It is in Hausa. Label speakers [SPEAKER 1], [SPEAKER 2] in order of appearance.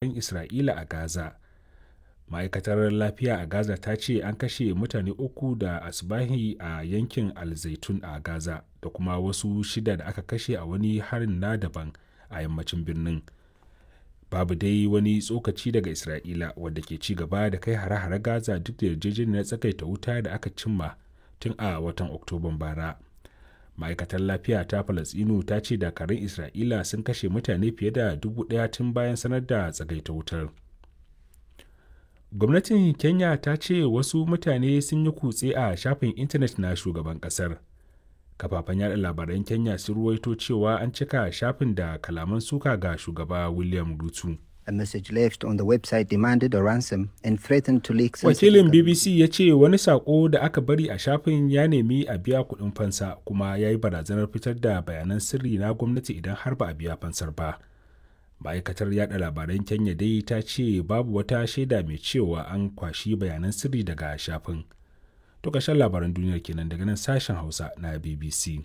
[SPEAKER 1] Isra'ila a Gaza. Ma'aikatar Lafiya a Gaza ta ce an kashe mutane uku da asubahi a yankin Al-Zaitun a Gaza da kuma wasu shida da aka kashe a wani harin na daban a yammacin birnin. Babu dai wani tsokaci daga Isra'ila, wadda ke ci gaba da kai hare-hare Gaza duk da yarjejeniyar tsagaita wuta da aka cimma tun a watan Oktoban bara. Ma'aikatar Lafiya ta Falasɗinu ta ce dakarun Isra'ila sun kashe mutane fiye da 1,000 tun bayan sanar da tsagaita wutar. Gwamnatin Kenya ta ce wasu mutane sun yi kutse a shafin intanet na shugaban kasar. Kafafen yada labaran Kenya sun ruwaito cewa an cika shafin da kalaman suka ga shugaba William Ruto.
[SPEAKER 2] A message left on the website demanded a ransom and threatened to leak sensitive
[SPEAKER 1] Wakilin BBC ya ce wani sako da aka bari a shafin ya nemi a biya kuɗin fansa kuma ya yi barazanar fitar da bayanan sirri na gwamnati idan har ba a biya fansar ba. Ma'aikatar yada labaran Kenya dai ta ce babu wata shaida mai cewa an kwashi bayanan sirri daga shafin. To ƙarshen labaran duniyar kenan daga nan sashen Hausa na BBC.